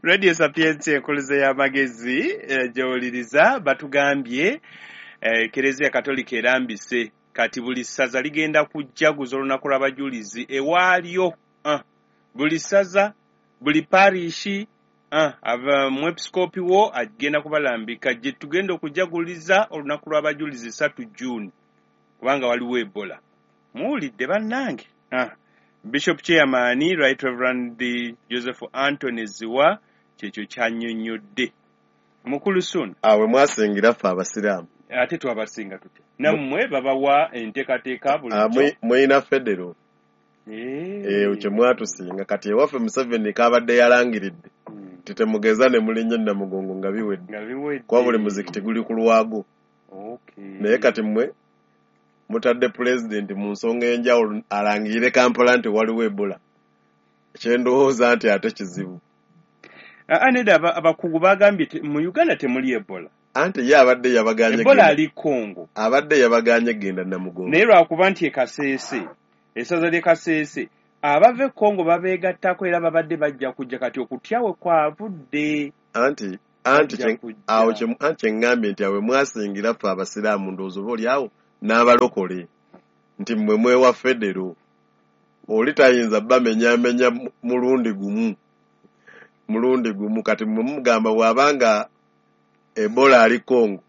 Radio Sapientia, enkuluze y'amagezi gy'owuliriza. Batugambye Ekereziya Katolika erambise kati buli ssaza ligenda kujjaguza olunaku lw'abajulizi ewaalyo. Buli ssaza, buli parishi, mwepisikoopi wo agenda kubalambika gye tugenda okujaguliza olunaku lw'abajulizi 3 June, kubanga waliwo Ebola. Muwulidde bannange? Bishop Chairman Right Reverend Joseph Anthony Ziwa kyekyo kyannyonnyodde. Mukulu Ssuuna. Awe mwasingira ffe abasiraamu. Ate twabasinga tutya? Nammwe babawa enteekateeka bulijjo. Mulina federo. Kye mwatusinga. Kati ewaffe Museveni kabadde yalangiridde titemugeza ne mulinnya Namugongo nga biwedde. Kuba buli muzikiti guli ku lwago. Naye kati mmwe mutadde pulezidenti mu nsonga enjawulo alangirire Kampala nti waliwo Ebola. Kyendowooza nti ate kizibu. Nedda, abakugu bagambye mu Uganda temuli Ebola. Anti ye abadde yabaganye Ebola ali Congo. Abadde yabaganye genda Namugongo. Naye lwakuba nti e Kasese, essaza ly'e Kasese, abava e Congo babeegattako era babadde bajja kujja, kati okutya we kwavudde. Anti awo kye ŋŋambye nti awe mwasingira ffe abasiraamu, ndowooza oba oli awo n'abalokole nti mmwe mwewa federo. Oli tayinza bamenyaamenya mulundi gumu. Kati mmwe mugamba bw'abanga Ebola ali Congo,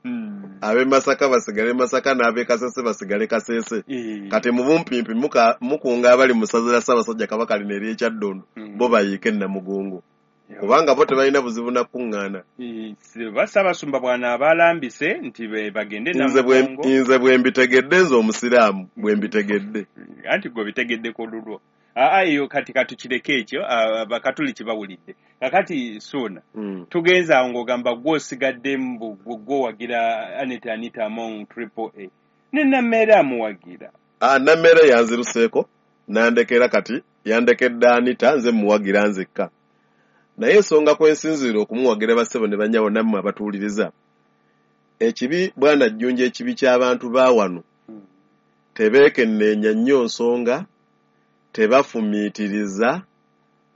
ab'e Masaka basigale Masaka n'ab'e Kasese basigale Kasese. Kati mu bumpimpi mukunga abali mu ssaza lya Ssaabasajja Kabaka lino ery'Ekyaddondo, bo bayiike Namugongo, kubanga bo tebalina buzibu na kuŋŋaana. Ba Ssaabasumba bw'anaaba alambise nti bagende Namugongo. Nze bwe mbitegedde, nze omusiraamu bwe mbitegedde. Anti gwe bitegeddeko lulwo. Aa, eyo kati katukireke ekyo, abakatuliki bawulidde. Kakati Suuna, tugenze awo ng'ogamba gwe osigadde mbu gwe owagira Anita Among, Triple A, ne Nammeere amuwagira. Nammeere yanziruseeko nandekera, kati yandekedde Anita, nze muwagira nzekka. Naye ensonga kwensinziira okumuwagira, bassebo ne bannyabo nammwe abatuwuliriza, ekibi bwana Jjunja, ekibi ky'abantu ba wano, tebeekenneenya nnyo nsonga, tebafumiitiriza,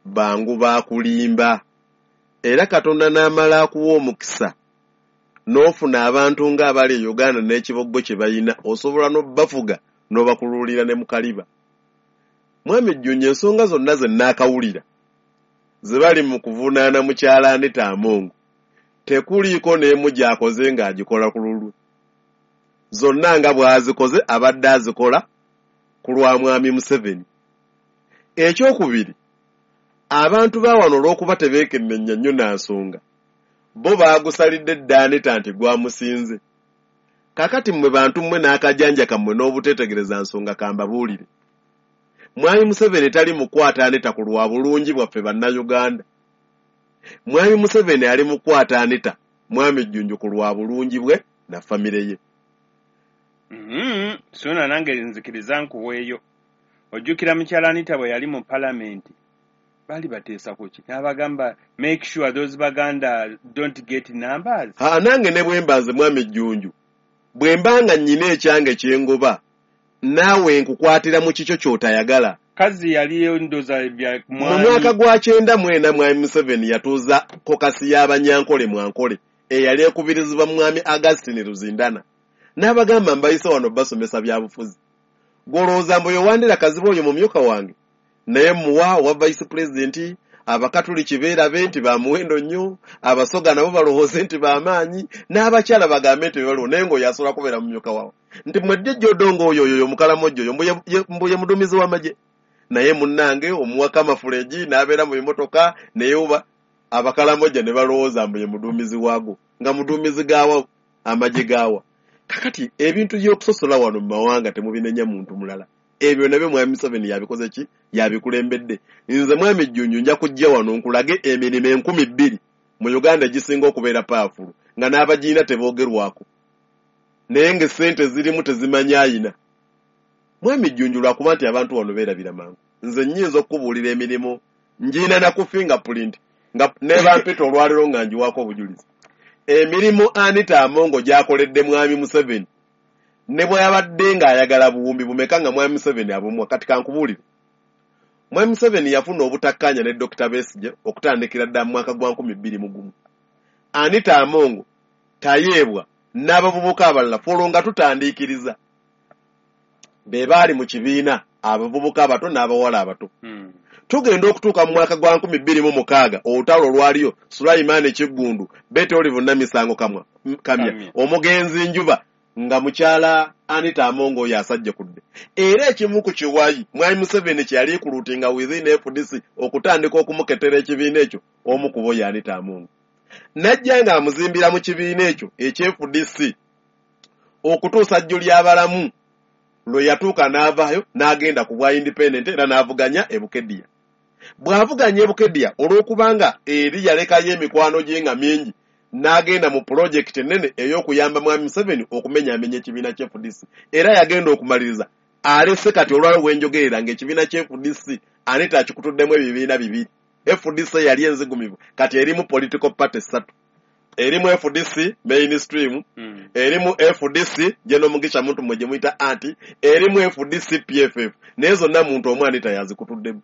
bangu baakulimba. Era Katonda n'amala akuwa omukisa n'ofuna abantu ng'abali e Uganda n'ekiboggo kye bayina, osobola n'obbafuga n'obakuluulira ne mu kaliba. Mwami Jjunja, ensonga zonna ze nnaakawulira ze bali mu kuvunaana mukyala Anita Among, tekuliiko n'emu gy'akoze ng'agikola ku lulwe. Zonna nga bw'azikoze abadde azikola ku lwa mwami Museveni. Ekyokubiri, abantu ba wano olw'okuba tebeekenneenya nnyo na nsonga, bo baagusalidde dda Anita nti gwamusinze. Kaakati mmwe bantu mmwe n'akajanja kammwe n'obuteetegereza nsonga, kambabuulire: mwami Museveni tali mukwata Anita ku lwa bulungi bwaffe Bannayuganda. Mwami Museveni ali mukwata Anita, mwami Jjunju, ku lwa bulungi bwe na famire ye. Suuna, nange nzikiriza nkuweeyo. Ojjukira mukyala Anita bwe yali mu palamenti, baali bateesa ku ki? N'abagamba, "Make sure those Baganda don't get numbers." Ha, nange ne bwe mba nze mwami Jjunju, bwe mba nga nnyina ekyange kyengoba, naawe nkukwatira mu kikyo ky'otayagala. Kazi yali ndoza bya Mu mwaka gwa 94, mwami Museveni yatuuza caucus y'Abanyankole mwankole eyali ekubirizibwa mwami Augustine Ruzindana, n'abagamba, "Mbayise wano basomesa byabufuzi. Gwolowooza mbu yowandira Kaziba oyo mumyuka wange, naye muwa owa vice president. Abakatuliki beerabe nti bamuwendo nnyo, Abasoga nabo balowooze nti bamaanyi, n'abakyala bagambe nti bebaliwo, naye ng'oyo asobola kubeera mumyuka wawe nti mwedde jodongo oyo oyo omukalamojjo oyo mbu ye muduumizi w'amagye, naye munnange omuwaka amafuleji n'abeera mu bimotoka, naye oba abakalamojja ne balowooza mbu ye muduumizi waago, nga muduumizi gaawa amagye gaawa." Kakati ebintu by'okusosola wano mu mawanga temubinenya muntu mulala. Ebyo nabyo mwami Museveni yabikoze ki? Yabikulembedde. Nze mwami Jjunju nja kujja wano nkulage emirimu 2000 mu Uganda egisinga okubeera powerful nga n'abagiina teboogerwako, naye ng'essente zirimu tezimanyi ayina. Mwami Jjunju, lwakuba nti abantu wano beerabira mangu. Nze nnyinza okukubuulira emirimu ngiina na ku fingerprint nga nebampita olwaliro nga ngiwaako obujulizi. Emirimu Anita Amongo gy'akoledde mwami Museveni, ne bwe yabadde ng'ayagala buwumbi bumeka nga mwami Museveni abumuwa. Kati kankubuulire, Mwami Museveni yafuna obutakkaanya ne Dr. Besigye okutandikira ddala mu mwaka gwa 2001. Anita Among, Tayebwa n'abavubuka abalala folo nga tutandiikiriza be baali mu kibiina, abavubuka abato n'abawala abato. Tugenda okutuuka mu mwaka gwa 2006, olutalo olwaliyo Sulaiman Kiggundu, Betty Olive Namisango Kamya, omugenzi Njuba, nga mukyala Anita Among oyo asajja kudde. Era ekimu ku kiwayi Mwami Museveni kye yali kulutinga within FDC okutandika okumuketera ekibiina ekyo, omu ku bo ye Anita Among. Najja ng'amuzimbira mu kibiina ekyo eky'FDC okutuusa jjo ly'abalamu lwe yatuuka n'avaayo n'agenda ku bwa independent era n'avuganya e Bukedea. Bw'avuganya e Bukedea, olw'okubanga eri yalekayo emikwano gye nga mingi, n'agenda mu pulojekiti ennene ey'okuyamba Mwami Museveni okumenyaamenya ekibiina kya FDC. Era yagenda okumaliriza alese kati olwalo bwenjogerera ng'ekibiina kya FDC Anita akikutuddemu ebibiina bibiri. FDC yali enzigumivu, kati erimu political party ssatu. Erimu FDC mainstream, erimu FDC General Mugisha Muntu mwe gye muyita anti, erimu FDC PFF, naye zonna muntu omu Anita yazikutuddemu.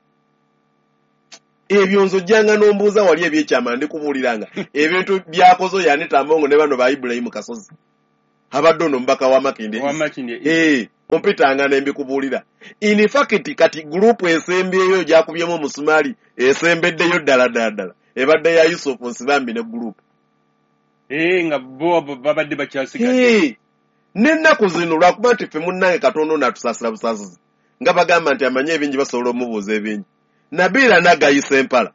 Ebyo nze ojjanga n'ombuuza wali ebyekyama, ndikubuuliranga ebintu byakoze oyo Anita Among ne bano ba Ibrahim Kasozi abadde ono omubaka wa Makindye. Wa Makindye. Ompitanga ne mbikubuulira. In fact kati gurupu esembyeyo gyakubyemu omusumaali esembeddeyo ddala ddala ddala ebadde ya Yusuf Nsibambi ne gurupu. Nga bo babadde bakyasigadde. N'ennaku zino lwakuba nti ffe munnange Katonda ono atusaasira busaasizi, nga bagamba nti amanyi ebingi basobola omubuuza ebingi. Nabiila Nagayisa Empala.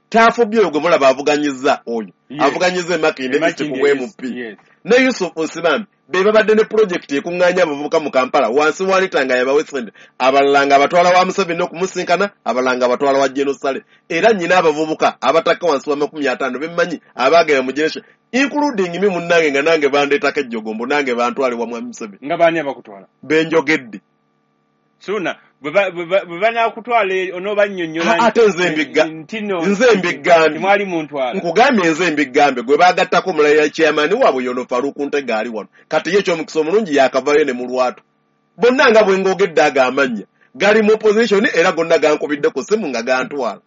Taafubye oyo gwe mulaba avuganyizza oyo. Avuganyizza e Makindye East ku MP. Ne Yusuf Nsibambi be babadde ne pulojekiti ekuŋŋaanya abavubuka mu Kampala wansi wa Anita nga yabawa essente, abalala nga abatwala wa Museveni okumusinkana, abalala nga abatwala wa General Saleh. Era nnyina abavubuka abatakka wansi wa 50 bemmanyi abaagenda mu generation, including me munnange, nga nange bandeetako ejjogombo, nange bantwale wa Mwami Museveni. Nga baani abakutwala? Benjogedde. Suna bwe banaakutwala onoobannyonnyola ate nze mbigambye. Mwali muntwala. Nkugambye nze mbigambye gwe baagattako omulala chairman waabwe yono Farouk Ntega ali wano. Kati ye ekyomukisa omulungi yakavaayo ne mu lwatu. Bonna nga bwe ngogedde ago amannya gali mu opposition era gonna gankubidde ku ssimu nga gantwala.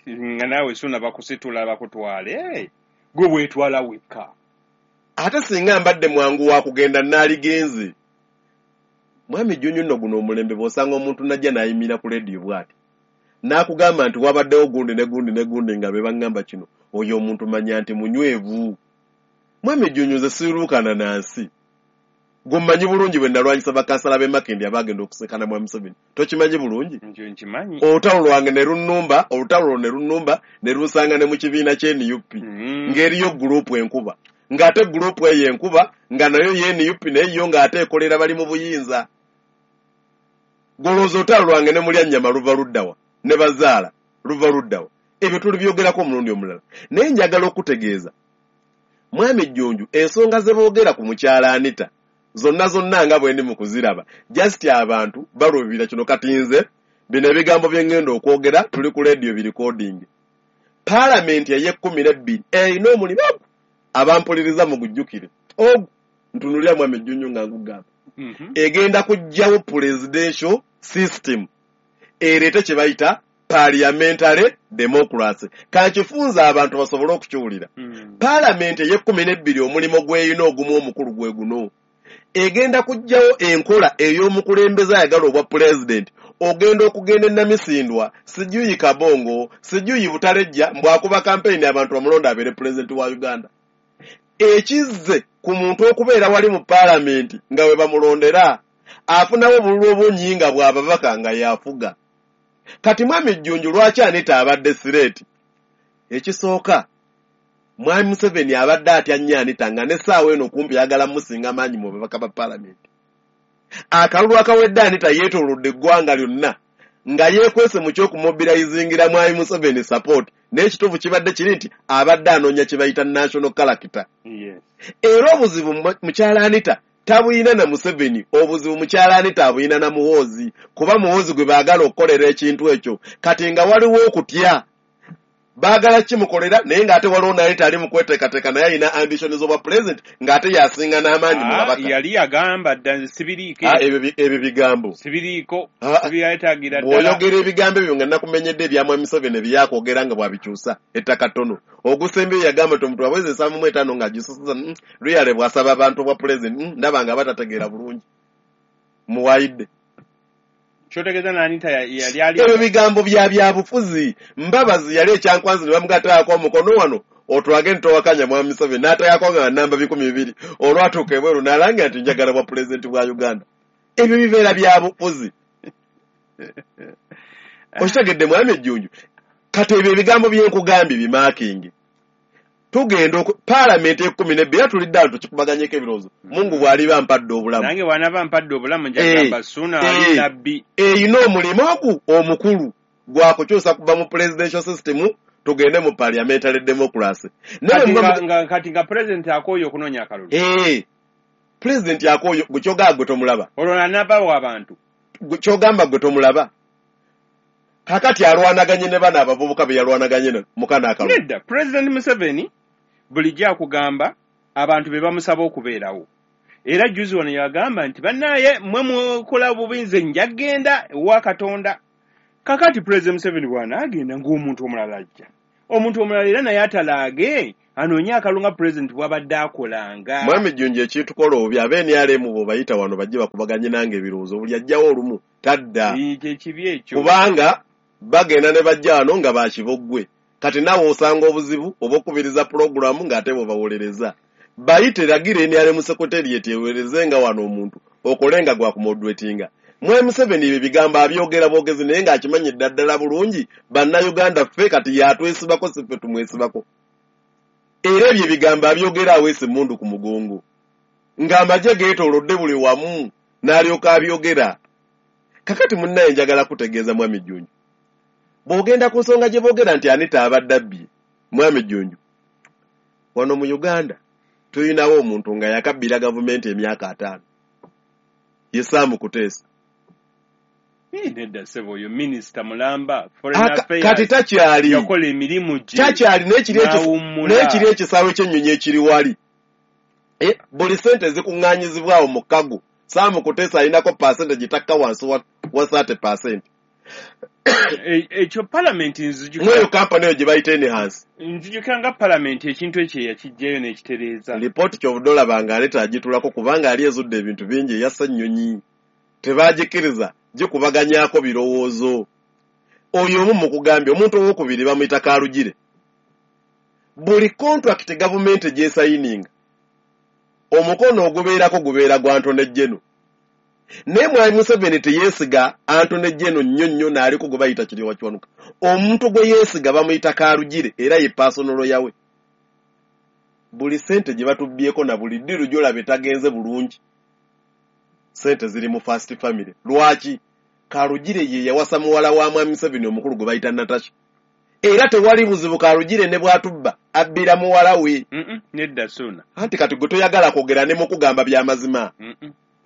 Nga naawe Suna bakusitula bakutwale. Gwe weetwala wekka. Ate singa mbadde mwangu wa kugenda naaligenze. Mwami Jjunju nno guno omulembe bw'osanga omuntu najja n'ayimira ku leediyo bw'ati n'akugamba nti wabaddewo gundi ne gundi ne gundi nga be baŋŋamba kino, oyo omuntu manya nti munywevu. Mwami Jjunju nze siiruukana na nsi. Gwe mmanyi bulungi bwe nalwanyisa bakansala b'e Makindye abaagenda okusekana Mwami Museveni. Tokimanyi bulungi? Nkimanyi. Olutalo lwange ne lunnumba, olutalo lwo ne lunnumba ne lunsanga ne mu kibiina ky'e NUP. Ng'eriyo gurupu enkuba. Ng'ate gurupu eyo enkuba nga nayo ye NUP naye yo ng'ate ekolera bali mu buyinza. Golooza olutalo lwange ne mulya nnyama luva luddawa ne bazaala luva luddawa. Ebyo tulibyogerako omulundi omulala. Naye njagala okutegeeza Mwami Jjunju ensonga ze boogera ku mukyala Anita zonna zonna nga bwe ndi mu kuziraba, just abantu baluubirira kino. Kati nze bino ebigambo bye ŋŋenda okwogera tuli ku leediyo birikodingi. Paalamenti ey'e12 erina omulimu ogwo abampuliriza mugujjukire. Ogwo ntunulira Mwami Jjunju nga nkugamba. Egenda kuggyawo presidential system ereete kye bayita parliamentary democracy. Kankifunza abantu basobole okukiwulira. Paalamenti ey'e12 omulimu gw'erina ogumu omukulu gwe guno. Egenda kuggyawo enkola ey'omukulembeze ayagala obwa pulezidenti ogenda okugenda e Namisindwa, sijuyi Kabongo, sijuyi Butalejja, mbw'akuba kampeyini abantu bamulonda abeere pulezidenti wa Uganda. Ekizze ku muntu okubeera wali mu paalamenti nga we bamulondera afunawo obululu obungi nga bw'ababaka nga yafuga. Kati Mwami Jjunju lwaki Anita abadde sireeti? Ekisooka, Mwami Museveni abadde atya nnyo Anita nga n'essaawa eno kumpi ayagala musinga maanyi mu babaka ba paalamenti. Akalulu akawedde Anita yeetoolodde eggwanga lyonna nga yeekwese mu ky'okumobilizingira Mwami Museveni support, naye ekituufu kibadde kiri nti abadde anoonya kye bayita national character. Era obuzibu mukyala Anita tabuyina na Museveni, obuzibu mukyala Anita abuyina na Muhoozi, kuba Muhoozi gwe baagala okukolera ekintu ekyo. Kati nga waliwo okutya Baagala kimukolera, naye ng'ate waliwo naye tali mu kweteekateeka, naye alina ambition z'obwa president, ng'ate yasinga n'amaanyi mu babaka. Yali yagamba dda, nze sibiriiko. Ebyo bigambo sibiriiko, sibyetagira ddala. Bw'oyogera ebigambo ebyo nga nakumenyedde ebya Mwami Museveni byakwogera nga bw'abikyusa ettaka ttono. Ogusembyeyo yagamba nti omuntu aweza 75 ng'agisusa luyale bw'asaba abantu obwa president, ndaba nga batategeera bulungi. Muwayidde. Kyotegeeza n'Anita yali ali ebyo bigambo bya byabufuzi. Mbabazi yali ekyankwanzi ne bamugattaako omukono wano otwage ntowakanya Mwami Museveni, n'ateekako nga namba 200, olwatuuka ebweru n'alangira nti njagala bwa pulezidenti bwa Uganda. Ebyo bibeera byabufuzi. Okitegedde Mwami Ejjunju? Kati ebyo ebigambo bye nkugambye bimaakingi. Tugenda paalamenti 12 tulidde awo tukikubaganyeko ebirowoozo. Mungu bw'aliba mpadde obulamu. Nange bw'anaaba mpadde obulamu njagamba Ssuuna ali nabbi. Eyina omulimu ogu omukulu gwa kukyusa kuva mu presidential system tugende mu parliamentary democracy. Kati nga president akooye okunoonya akalulu. President akooye, gwe kyogamba gwe tomulaba. Olwo anaabawo abantu. Gwe kyogamba gwe tomulaba. Kakati alwanaganye ne bano abavubuka be yalwanaganye mu kano akalulu. Nedda, President Museveni bulijjo akugamba abantu be bamusaba okubeerawo. Era jjuzi wano yagamba nti bannaye mmwe mukola bubi, nze nja kugenda ewa Katonda. Kakati President Museveni bw'anaagenda ng'omuntu omulala ajja. Omuntu omulala era naye atalaage anoonye akalulu nga President bw'abadde akolanga. Mwami Jjunju, ekitukola obubi abe NRM bw'obayita wano bajje bakubaganye nange ebirowoozo, buli ajjawo olumu tadda. Kye kibi ekyo. Kubanga bagenda ne bajja wano nga bakiboggwe. Kati naawe osanga obuzibu oba okubiriza pulogulaamu ng'ate bw'obawolereza. Bayite, lagira NRM secretariat eweereze nga wano omuntu okole nga gwakumoderatinga. Mwami Museveni ebyo ebigambo abyogera bwogezi, naye ng'akimanyi ddala bulungi bannayuganda ffe kati yatwesibako, si ffe tumwesibako. Era ebyo ebigambo abyogera aweesa emmundu ku mugongo ng'amagye geetoolodde buli wamu, n'alyoka abyogera. Kakati munnaye njagala kutegeeza Mwami Jjunju, bw'ogenda ku nsonga gye boogera nti Anita abadde abbye, Mwami Jjunju, wano mu Uganda tulinawo omuntu nga yakabbira gavumenti emyaka 50, ye Sam Kuteesa. Nedda ssebo, oyo minisita mulamba, foreign affairs. Kati takyali. Yakola emirimu gye. Takyali, n'awummula. N'ekiri ekisaawe ky'ennyonyi ekiri wali, buli sente zikuŋŋaanyizibwawo mu kago, Sam Kuteesa alinako percentage takka wansi wa 30%. Ekyo palamenti nzijukira. Mweyo kampani eyo gye bayita Enhance. Nzijukira nga palamenti ekintu ekyo yakiggyayo n'ekitereeza. Lipooti kyovudde olaba nga aleeta agitulako, kubanga ali ezudde ebintu bingi. Eyassa ennyonyi tebagikkiriza gikubaganyaako birowoozo. Oyo omu mukugambye. Omuntu owokubiri bamuyita Karugire. Buli contract gavumenti gyesayininga, omukono ogubeerako gubeera gwa Attorney General, naye Mwami Museveni teyeesiga Attorney General nnyo nnyo, n'aliko gwe bayita Kiryowa Kiwanuka. Omuntu gwe yeesiga bamuyita Karugire, era ye personal lawyer we. Buli sente gye batubbyeko na buli deal gy'olaba etagenze bulungi, sente ziri mu first family. Lwaki? Karugire ye yawasa muwala wa Mwami Museveni omukulu gwe bayita Natasha, era tewali buzibu. Karugire ne bw'atubba abbira muwala we. Nedda Ssuuna. Anti kati gwe toyagala kwogera, ne mukugamba byamazima.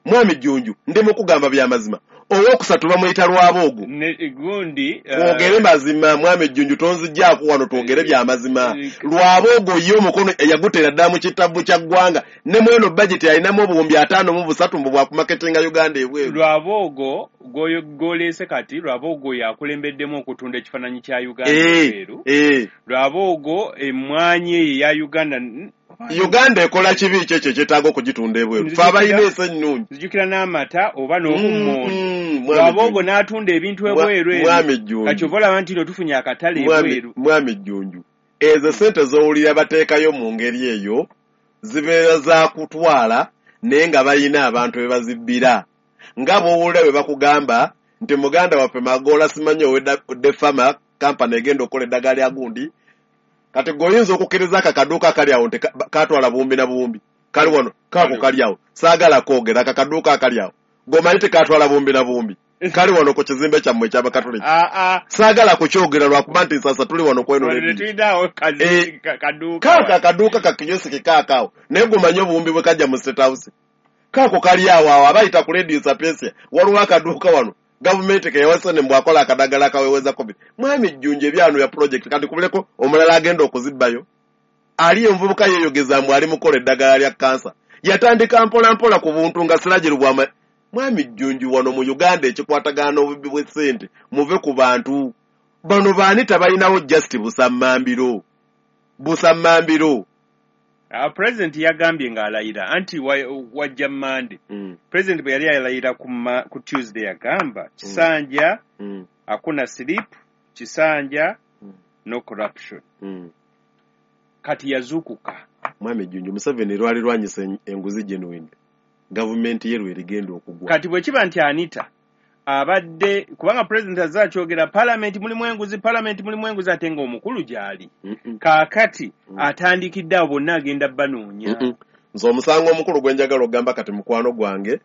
Mwami Jjunju, ndi mukugamba byamazima. Owokusatu bamuyita Lwaboogo. Ne gundi Twogere mazima, Mwami Jjunju, tonzijjaako wano, twogere byamazima. Lwaboogo ye omukono yagutera ddala mu kitabu kya ggwanga, ne mweno bajeti alinamu 53,000 mbu bwakumaketinga Uganda ebweru. Lwaboogo gw'oleese kati, Lwaboogo yakulembeddemu okutunda ekifaananyi kya Uganda ebweru. Lwaboogo emmwanyi eyo eya Uganda Uganda ekola kibi ki ekyo ekyetaaga okugitunda ebweru? Fe abalina ensi ennungi. Nzijukira n'amata oba n'obummonde. Mwami Lwaboogo Jjunju. n'atunda ebintu ebweru ebyo. Mwami Jjunju. Kati ova olaba nti no tufunye akatale ebweru. Mwami Jjunju, ezo sente z'owulira bateekayo mu ngeri eyo zibeera za kutwala, naye nga balina abantu be bazibbira, nga bw'owulira bwe bakugamba nti muganda waffe Magoola simanyi owedde kampani egenda okukola eddagala lya gundi. Kati gwe oyinza okukkiriza ako akaduuka akali awo nti katwala buwumbi na buwumbi? Kali wano kaako kali awo, saagala kwogera. Ako akaduuka akali awo gweomanyi tekatwala buwumbi na buwumbi? Kali wano ku kizimbe kyammwe ekyabakatuliki. Saagala kukyogera lwakuba nti nsasa tuli wano kweno Wano radio. tetulinawo kaduuka. Kaako akaduuka kakiyosiki kaakaawo, naye gweomanyi obuwumbi bwe kajja mu State House? Kaako kali awo awo abayita ku Radio Sapientia, waliwo akaduuka wano. Gavumenti keyawasane mbwakola akadagala akaweweza COVID. Mwami Jjunju ebyano ya project kati kubuleko omulala agenda okuzibbayo. Ali envubuka yeeyogeza mbu ali mukola eddagala lya kansa. Yatandika mpola mpola ku buntu nga siragiro bwama. Mwami Jjunju wano mu Uganda ekikwatagana n'obubbi bw'essente muve ku bantu. Bano baani tabalinawo just busammambiro. Busammambiro. President yagambye ng'alayira anti wajja Monday. President bwe yali alayira ku Tuesday yagamba kisanja hakuna slip, kisanja no corruption. Kati yazuukuka. Mwami Jjunju Museveni lwali lwanyisa enguzi genuine. Gavumenti ye lwerigenda okugwa. Kati bwe kiba nti Anita abadde kubanga president azze akyogera parliament mulimu enguzi, parliament mulimu enguzi ate ng'omukulu gy'ali. Kaakati atandikidde abo bonna agenda banoonya. Nze omusango omukulu gwe njagala okugamba kati mukwano gwange,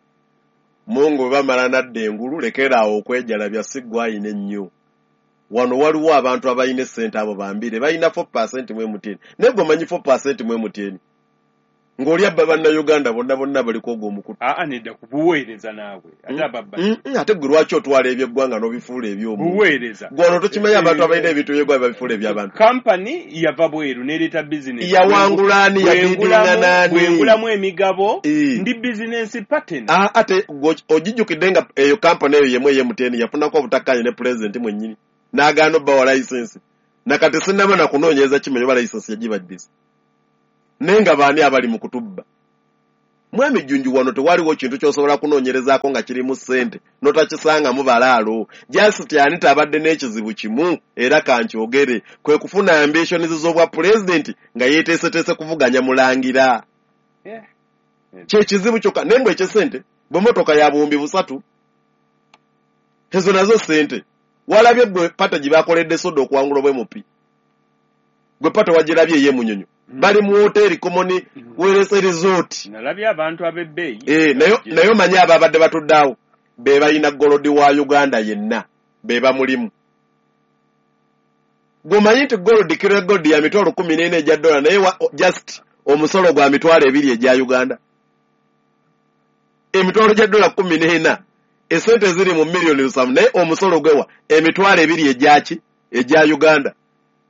Mungu bwe bamala nadda engulu lekera awo okwejalabya si ggwe ayina ennyo. Wano waliwo abantu abalina essente abo bambire balina 4% mu MTN. Naye gwe omanyi 4% mu MTN? Ng'oli abba bannayuganda bonna bonna baliko ogwo omukutu. Aa nedda kubuweereza naawe. Ate ababba. Ate gwe lwaki otwala eby'eggwanga n'obifuula eby'omuntu? Buweereza. Gwe ono tokimanyi abantu abalina ebintu by'eggwanga babifuula eby'abantu. Kampani yava bweru n'ereeta bizinesi. Yawangula ani? Yabidinga n'ani? Bwengulamu emigabo ndi bizinesi partner. Ate ogijjukidde nga eyo kampani eyo yemu ey'e MTN yafunako obutakkaanya ne pulezidenti mwennyini. N'agaana obbawa layisinsi. Nakati sinnaba na kunoonyereza kimanyi oba layisinsi yagibaddisa. Naye nga baani abali mu kutubba. Mwami Jjunju wano tewaliwo kintu ky'osobola kunoonyerezaako nga kirimu ssente n'otakisangamu balaalo. Just Anita abadde n'ekizibu kimu era kankyogere kwe kufuna ambitions z'obwa pulezidenti nga yeeteeseteese kuvuganya mulangira. Kye kizibu kyokka naye mbwe eky'essente bwe mmotoka ya 3000 ezo nazo ssente. Walabye gwe pata gye bakoledde soda okuwangula obwa MP. Gwe pata wagirabye ey'e Munyonyo. Bali mu hoteri Common Wealth Resort. Nalabye abantu ab'ebbeeyi. Naye omanyi abo abadde batudde awo be balina gold wa Uganda yenna be bamulimu. Gwe omanyi nti gold kiro gold ya mitwalo 14 egya dola naye just omusolo gwa 20,000 egya Uganda. Emitwalo gya dola 14 esente ziri mu miliyoni 7 naye omusolo gwewa 20,000 egyaki egya Uganda.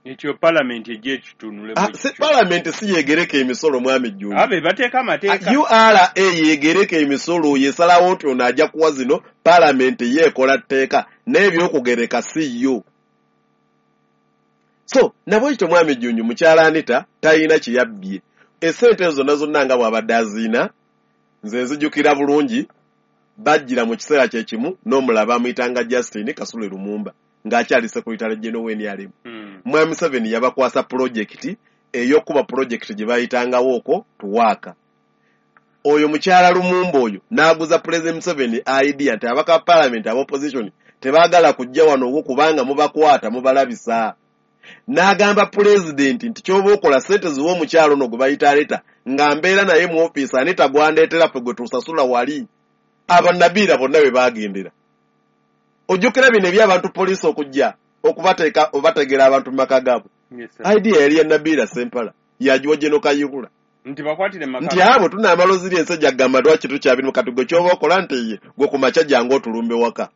Ekyo parliament ejja ekitunule. Parliament si yegereka emisolo mwami Jjunju. Abe bateeka amateeka. URA yegereka emisolo yesalawo nti ono ajja kuwa zino parliament yeekola tteeka n'ebyokugereka si yo. So nabwekityo mwami Jjunju mukyala Anita talina kye yabbye. Essente ezo zonna zonna nga bw'abadde aziina nze nzijukira bulungi bajjira mu kiseera kye kimu n'omulala bamuyitanga Justin Kasule Lumumba ng'akyali secretary general w'NRM. Mwami Museveni yabakwasa pulojekiti ey'okuba pulojekiti gye bayitangawo okwo tuwaaka. Oyo mukyala Lumumba oyo n'aguza Pulezidenti Museveni idea nti abaka parliament aba opposition tebaagala kujja wano wo kubanga mubakwata mubalabisa. N'agamba pulezidenti nti ky'oba okola ssente ziwe omukyala ono gwe bayita Anita nga mbeera naye mu ofiisi Anita gwandeetera ffe gwe tusasula wali. Abannabiira bonna bwe baagendera. Ojjukira bino eby'abantu poliisi okujja okubateeka obategera abantu mu maka gaabwe. Idea yali ya Nabiira Sempala yagiwa General Kayihura. Nti bakwatire mu maka. Nti abo tunaamala oziri ensi ejja lwaki tukyabirimu kati gwe ky'oba okola nti ye gwe ku makya jangu otulumbe waka.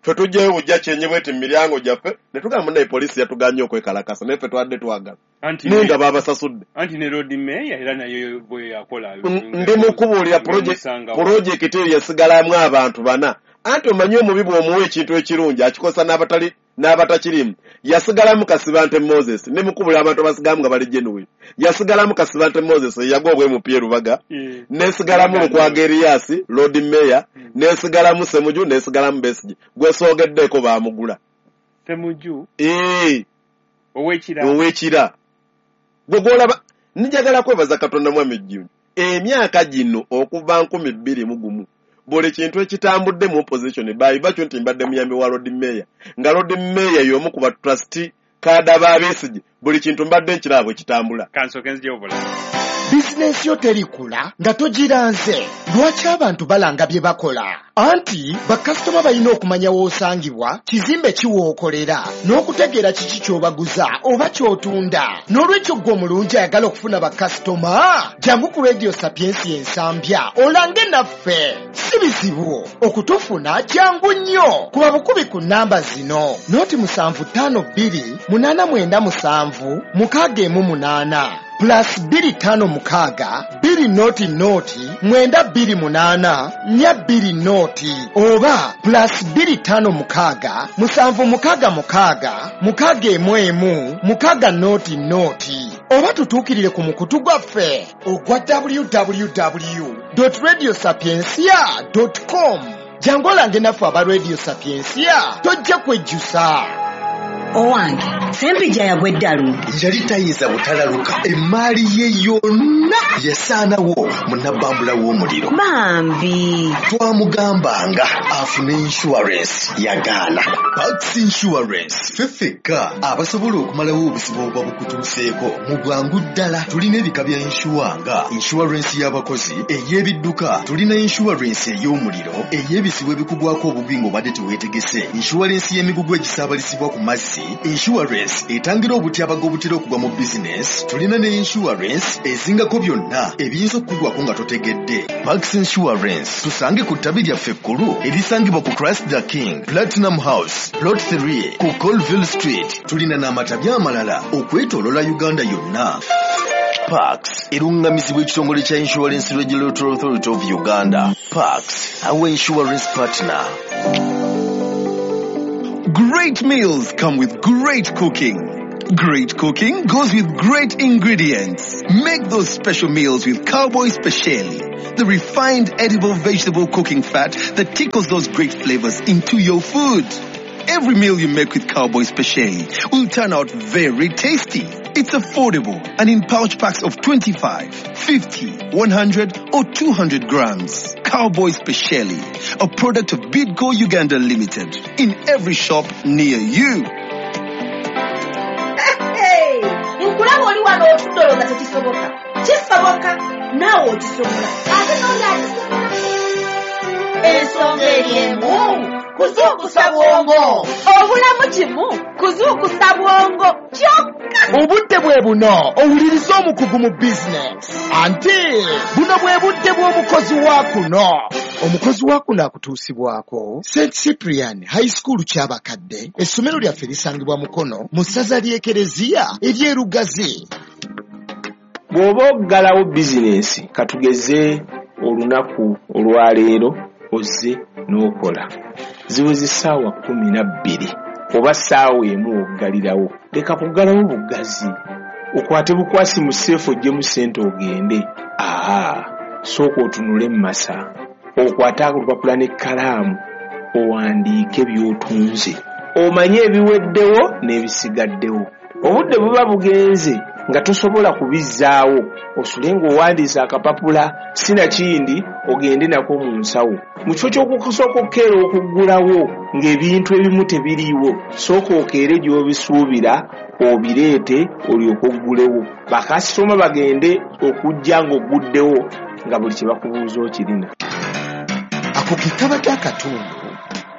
Ffe tujjayo bujja kyenyi bweti mu miryango gyaffe ne tugamba munnaye poliisi yatuganye okwekalakasa naye ffe twadde twagala. Naye nga baabasasudde. Anti ne Lord Mayor era naye bwe yakola. Ndi mukubuulira pulojekiti eyo yasigalamu abantu bana. Anti omanyi omubi bw'omuwa ekintu ekirungi akikosa n'abatali n'abatakirimu. Yasigalamu Kasibante Moses ne mukubula abantu abasigalamu nga bali genuine. Yasigalamu Kasibante Moses eyagwa obwa MP e Rubaga. Nesigalamu Lukwago Erias Lord Mayor, nesigalamu Semuju, nesigalamu Besigye. Gwe soogeddeko baamugula. Semuju? Ow'ekira. Ow'ekira. Gwe gw'olaba njagala kwebaza Katonda mwami Jjunju. Emyaka gino okuva 2001 buli kintu ekitambudde mu opposition baayiva kyo nti mbadde muyambi wa Lord Mayor nga Lord Mayor y'omu ku ba trustee kaada ba Besigye buli kintu mbadde nkiraba bwe kitambula. Kansooke nzijewo bulala. Bizinensi yo terikula nga togiranze. Lwaki abantu balanga bye bakola? Anti bakasitoma balina okumanya w'osangibwa, kizimbe ki w'okolera, n'okutegeera kiki ky'obaguza oba ky'otunda. N'olwekyo ggwe omulungi ayagala okufuna bakasitoma, jangu ku Radio Sapiensia Ensambya olange naffe. Si bizibu okutufuna, jangu nnyo. Kuba bukubi ku nnamba zino: 075 897 618, +256 200 928 420, oba +256 766 611 600, oba tutuukirire ku mukutu gwaffe ogwa www.radiosapiencia.com. Jangu olange naffe aba Radio Sapiensia, tojja kwejjusa. Owange, Sempijja yagwa eddalu. Yali tayinza butalaluka, emaali ye yonna yasaanawo mu nabbambula w'omuliro. Bambi. Twamugambanga afune insurance, yagaana. Pax Insurance, ffe ffekka abasobola okumalawo obuzibu obuba bukutuuseeko mu bwangu ddala. Tulina ebika bya insure nga insurance y'abakozi, ey'ebidduka, tulina insurance ey'omuliro, ey'ebizibu ebikugwako obubi ng'obadde teweetegese, insurance y'emigugu egisaabalizibwa ku mazzi, insurance etangira obutyabaga obutera okugwa mu bizinesi, tulina ne insurance ezingako byonna ebiyinza okukugwako nga totegedde. Pax Insurance, tusange ku ttabi lyaffe ekkulu erisangibwa ku Christ the King Platinum House, Plot 3 ku Colville Street. Tulina n'amatabi amalala okwetooloola Uganda yonna. Pax erungamizibwa ekitongole kya Insurance Regulatory Authority of Uganda. Pax, our insurance partner. Great meals come with great cooking. Great cooking goes with great ingredients. Make those special meals with Cowboy Speciali, the refined edible vegetable cooking fat that tickles those great flavors into your food. Every meal you make with Cowboy Speciali will turn out very tasty. It's affordable and in pouch packs of 25, 50, 100 or 200 grams. Cowboy Speciali, a product of Bidco Uganda Limited, in every shop near you. Hey, nkulaba oli wano otudde olowooza tekisoboka. Kisoboka, naawe okisobola. Ate n'oli akisobola. Ensonga eri emu, kuzuukusa bwongo. Obulamu kimu, kuzuukusa bwongo kyokka. Obudde bwe buno owuliriza omukugu mu bizinesi. Anti buno bwe budde bw'omukozi wa kuno. Omukozi wa kuno akutuusibwako St Cyprian High School Kyabakadde. Essomero lyaffe lisangibwa Mukono mu ssaza ly'Ekereziya ery'e Lugazi. Bw'oba oggalawo bizinensi, katugeze olunaku olwaleero ozze n'okola, ziweze ssaawa 12 oba ssaawa 1 oggalirawo, leka kuggalawo buggazi okwate bukwasi mu safe oggyemu ssente ogende. Aa, sooka otunule mu masa, okwate olupapula n'ekkalaamu, owandiike by'otunze, omanye ebiweddewo n'ebisigaddewo. Obudde buba bugenze nga tosobola kubizzaawo, osule ng'owandiise akapapula, sinakindi ogende nako mu nsawo. Mu kifo ky'okusooka okukeera okuggulawo ng'ebintu ebimu tebiriiwo, sooka okeere gy'obisuubira obireete olyoke oggulewo. Bakasitoma bagende okujja ng'ogguddewo nga buli kye bakubuuza okirina. Ako ke kabadde akatundu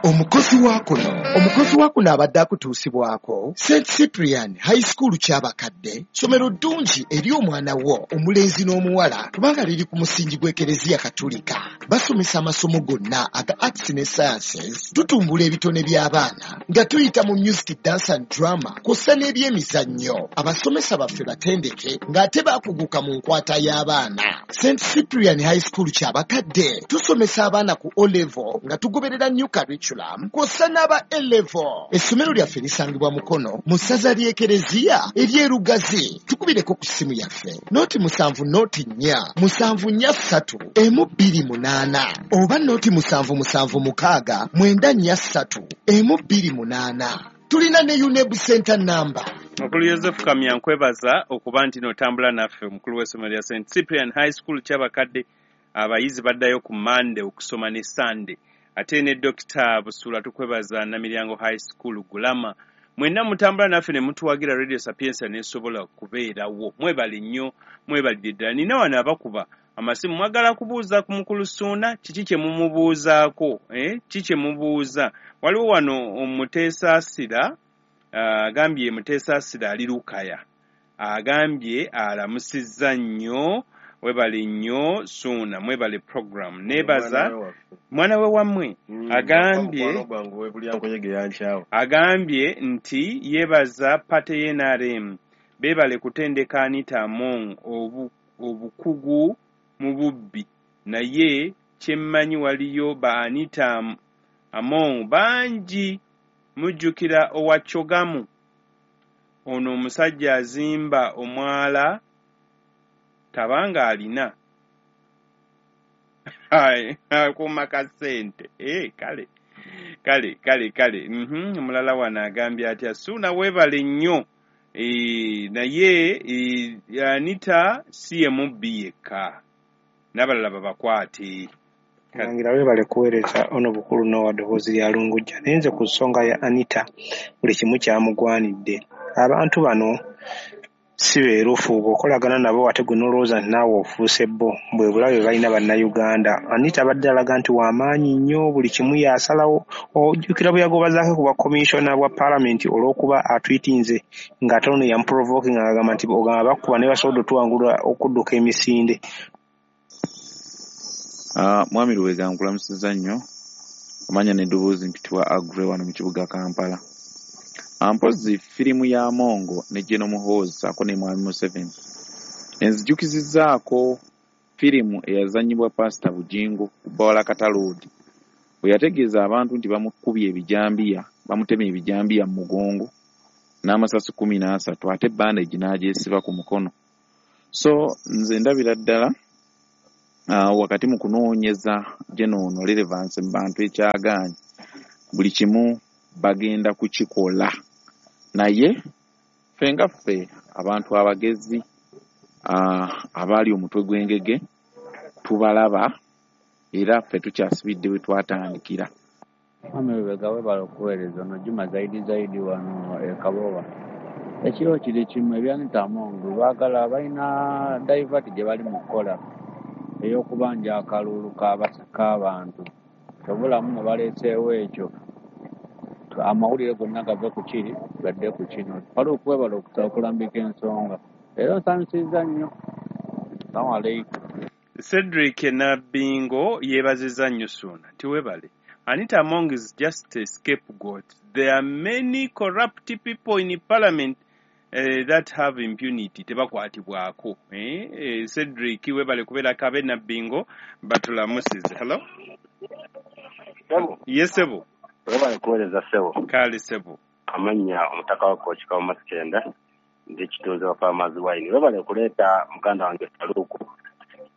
omukozi wa kuno. Omukozi wa kuno abadde akutuusibwako St Cyprian High School Kyabakadde, ssomero ddungi eri omwana wo omulenzi n'omuwala kubanga liri ku musingi gw'Ekereziya Katulika. Basomesa amasomo gonna aga arts ne sciences. Tutumbula ebitone by'abaana nga tuyita mu music, dance and drama kw'ossa n'ebyemizannyo. Abasomesa baffe batendeke ng'ate baakuguka mu nkwata y'abaana. St Cyprian High School Kyabakadde tusomesa abaana ku O level nga tugoberera new curriculum kw'ossa n'aba A level. Essomero lyaffe lisangibwa Mukono mu ssaza ly'Ekereziya ery'e Lugazi. Tukubireko ku ssimu yaffe 070 04 743 128 oba 0776 943 128. Tulina ne UNEB center number. Mukulu Yosefu Kamya, nkwebaza okuba nti n'otambula naffe, omukulu w'essomero lya St Cyprian High School Kyabakadde. Abayizi baddayo ku Mande okusoma ne Sande. Ate ne Dokita Busuula tukwebaza, Namiryango High School Gulama. Mwenna mutambula naffe ne mutuwagira Radio Sapientia n'esobola kubeerawo. Mwebale nnyo, mwebalire ddala. Nina wano abakuba amasimu, mwagala kubuuza ku mukulu Ssuuna, kiki kye mumubuuzaako? Ki kye mubuuza? Waliwo wano Omuteesaasira, agambye Muteesaasira ali Lukaya, agambye alamusizza nnyo, webale nnyo Ssuuna, mwebale program. Neebaza mwana we wammwe. Agambye agambye nti yeebaza party ye NRM, beebale kutendeka Anita Among obukugu mu bubbi, naye kyemmanyi waliyo ba Anita Among bangi. Mujjukira owa Chogamu, ono omusajja azimba omwala tabanga alina akuuma ka ssente. Kale kale kale kale. Omulala wano agambye atya, Ssuuna weebale nnyo, naye Anita si ye mubbi yekka, n'abalala babakwate. Mulangira weebale kuweereza ono bukulu n'owa ddoboozi lya Lungujja. Naye nze ku nsonga ya Anita buli kimu kyamugwanidde. Abantu bano si beerufu, bw'okolagana nabo ate gwe n'olowooza nti naawe ofuuse bo, bwe bulabe balina Bannayuganda. Anita abadde alaga nti w'amaanyi nnyo, buli kimu y'asalawo. Ojjukira bwe yagobazaako ku bwa commissioner bwa paalamenti olw'okuba atwitinze ng'ate ono yamuprovoking ng'agamba nti ogamba bakuba naye basobodde otuwangula okudduka emisinde. Mwami Lubega nkulamusizza nnyo, amanya n'eddoboozi mpitibwa Agre wano mu kibuga Kampala. Mpozzi firimu ya Mongo ne General Muhoozi ssaako ne Mwami Museveni enzijukizizzaako firimu eyazannyibwa Pasita Bugingo ku Bawala Kataloodi, bwe yategeeza abantu nti bamukubye ebijambiya, bamutemye ebijambiya mu mugongo n'amasasi 13, ate bandage n'agyesiba ku mukono. So nze ndabira ddala wakati mu kunoonyeza General relevance mu bantu ekyagaanyi, buli kimu bagenda kukikola. Naye ffe nga ffe abantu abagezi, abaali omutwe gw'engege tubalaba, era ffe tukyasibidde we twatandikira. Mwami Lubega weebale okuweereza. Ono Juma Zaidi Zaidi wano e Kabowa. Ekiro kiri kimu ebya Anita Among baagala balina divert gye bali mu kukola ey'okubanja akalulu k'abantu. Kyobulamu ne baleeseewo ekyo, amawulire gonna gave ku kiri gadde ku kino. Waliwo okwebala okulambika ensonga, era nsanyusizza nnyo. Assalamu alaikum. Cedric Nabbingo yeebazizza nnyo Ssuuna nti weebale. Anita Among is just a scapegoat. There are many corrupt people in parliament that have impunity, tebakwatibwako. Cedric weebale kubeerako abe Nabbingo batulamusize. Hello? Yes, sebo. Webale kuweereza ssebo. Kale ssebo. Amannya omutaka wa Kooki Kawuma Sikenda, ndi kitunzi wa Farmers Wine. Webale kuleeta muganda wange Faluku,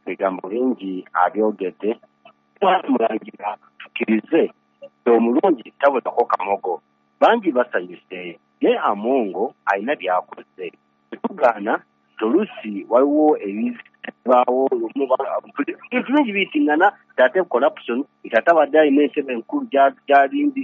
ebigambo bingi abyogedde. Mulangira tukkirize omulungi tabulako kamogo, bangi basanyuse, naye Amongo alina by'akoze. Tetugaana oluusi waliwo ebibaawo, ebintu bingi biyitingana, nti ate corruption, nti ate abadde alina entebe enkulu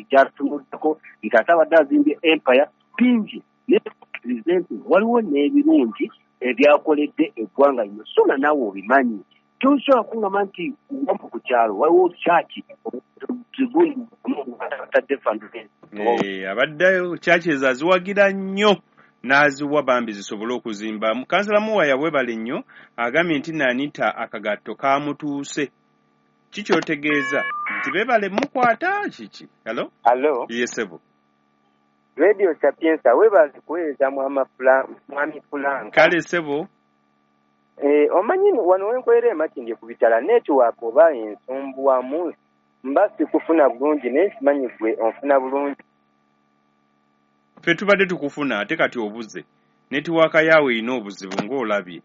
gy'atunuddeko, nti ate abadde azimbye empire, bingi. Naye tukkirize nti waliwo n'ebirungi ebyakoledde eggwanga lino. Ssuuna naawe obimanyi. Tosobola kuŋŋamba nti wambu ku kyalo waliwo kyaki zigundi atadde fundraising. Abadde kyaki ezo aziwagira nnyo n'aziwa bambi zisobole okuzimba. Kansala Muwaya weebale nnyo, agambye nti Anita akagatto kamutuuse. Kikyotegeeza nti beebale mukwata kiki? Hello? Hello? Yes, sebo. Radio Sapientia weebale kuweereza Mwami Fulanka. Kale sebo. Omanyi wano wenkolera e Makindye ku bitala network oba ensumbuwamu mba sikufuna bulungi, naye simanyi gwe onfuna bulungi. Ffe tubadde tukufuna ate kati obuze. Netiwaaka yaawe erina obuzibu ng'olabye.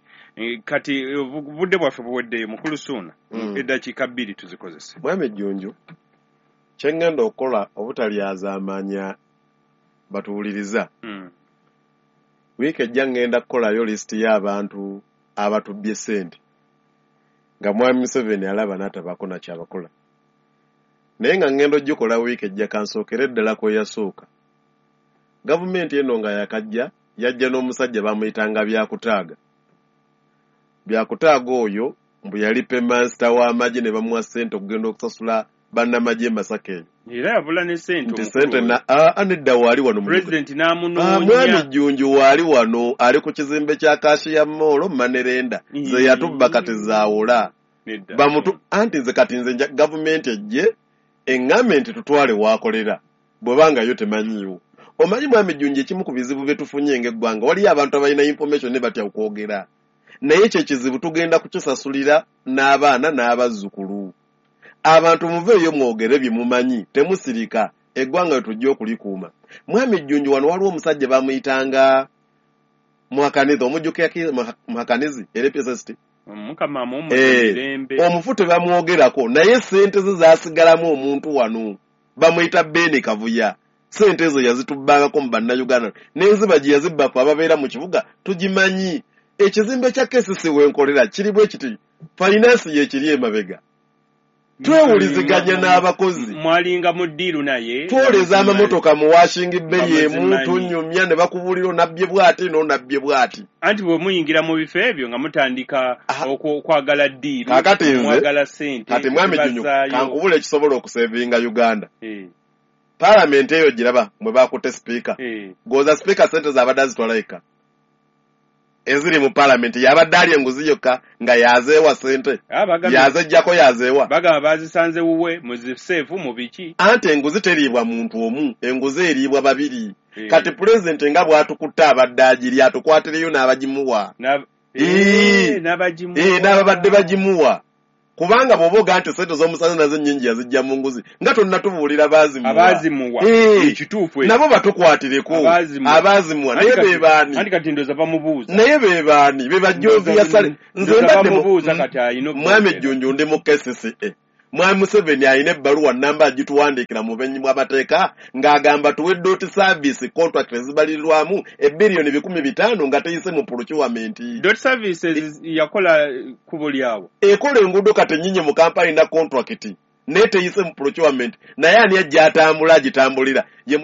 Kati obudde bwaffe buweddeyo mukulu Ssuuna. Eddakiika 2 tuzikozese. Mwami Jjunju, kye ŋŋenda okukola obutalyazaamanya batuwuliriza. Wiiki ejja ŋŋenda kukolayo lisiti y'abantu abatubbye ssente nga Mwami Museveni alaba n'atabaako na kyabakola. Naye nga ŋŋenda ogikola wiiki ejja, kansookere ddala ku eyasooka. Gavumenti eno nga yakajja, yajja n'omusajja bamuyitanga Byakutaaga. Byakutaaga oyo mbu yali paymaster w'amagye, ne bamuwa ssente okugenda okusasula bannamagye e Masaka eyo. Era yabula ne ssente. Nti Omukulu ssente oyo. Na aa, nedda, waali wano mu Pulezidenti mwami n'amunoonya. Jjunju waali wano, ali ku kizimbe kya Kashiya Mall Manerenda ze yatubba kati zaawula. Nedda. Bamutu anti nze kati nze gavumenti ejje eŋŋambe nti tutwale waakolera, bw'ebanga yo temanyiiwo. Omanyi mwami Jjunju, ekimu ku bizibu bye tufunye ng'eggwanga, waliyo abantu abalina information ne batya okwogera, naye ekyo ekizibu tugenda kukisasulira n'abaana n'abazzukulu. Abantu muveeyo mwogere bye mumanyi, temusirika. Eggwanga lye tujja okulikuuma. Mwami Jjunju, wano waliwo omusajja bamuyitanga Muhakanizi, omujjukira Muhakanizi era PSST? Mukama amuwummuze mirembe. Omufu tebamwogerako, naye sente ze zaasigalamu omuntu wano bamuyita Beni Kavuya. Sente ezo yazitubbangako mu bannayuganda, n'enziba gye yazibba ffe ababeera mu kibuga tugimanyi. Ekizimbe kya KCC wenkolera kiri bwe kiti, finance yekiri emabega, twewuliziganya n'abakozi. Mwalinga mu ddiiru naye? Twoleza amamotoka mu washing bay emu. Bamuzimanyi. Tunyumya ne bakubuulira onabbye bw'ati n'onabbye bw'ati. Anti bwe muyingira mu bifo ebyo nga mutandika okwagala ddiiru, Kaakati nze mwagala ssente kati mwami Junyu, zibazaayo. Kankubula ekisobola okusevinga Uganda. Paalamenti eyo giraba mwe bakutte sipiika. Goza sipiika sente zaabadde azitwala yekka eziri mu paalamenti, yabadde alya enguzi yokka nga yazeewa sente? Ah, Yazejjako, yazeewa. Bagamba bazisanze wuwe mu ziseefu mu biki. Anti enguzi teriibwa muntu omu, enguzi eriibwa babiri. Kati pulezidenti nga bw'atukutte abadde agiri, atukwatireyo n'abagimuwa. N'abagimuwa. N'ababadde bagimuwa, kubanga bw'oba ogaa nti sente z'omusanze nazo nnyingi yazijja mu nguzi, nga tonnatubuulira baazimuwa. Abaazimuwa. Ekituufu ekyo. Nabo batukwatireko. Abaazimuwa. Abaazimuwa naye Anti be baani? Anti kati ndowooza bamubuuza. Naye be baani? Be bajovia sale. Nze Ndowooza mbadde bamubuuza kati alina mwami okwogera. Jjunju, ndi mu KCCA. Mwami Museveni alina ebbaluwa namba agituwandiikira mu bumenyi bw'amateeka ng'agamba tuwe dot service contract ezibalirirwamu ebbiliyoni 500 nga teyise mu procurement. Dot services yakola kkubo lyawo. Ekola enguudo kati ennyingi mu kampani na contract, naye teyise mu procurement. Naye ani ajja atambula agitambulira ye?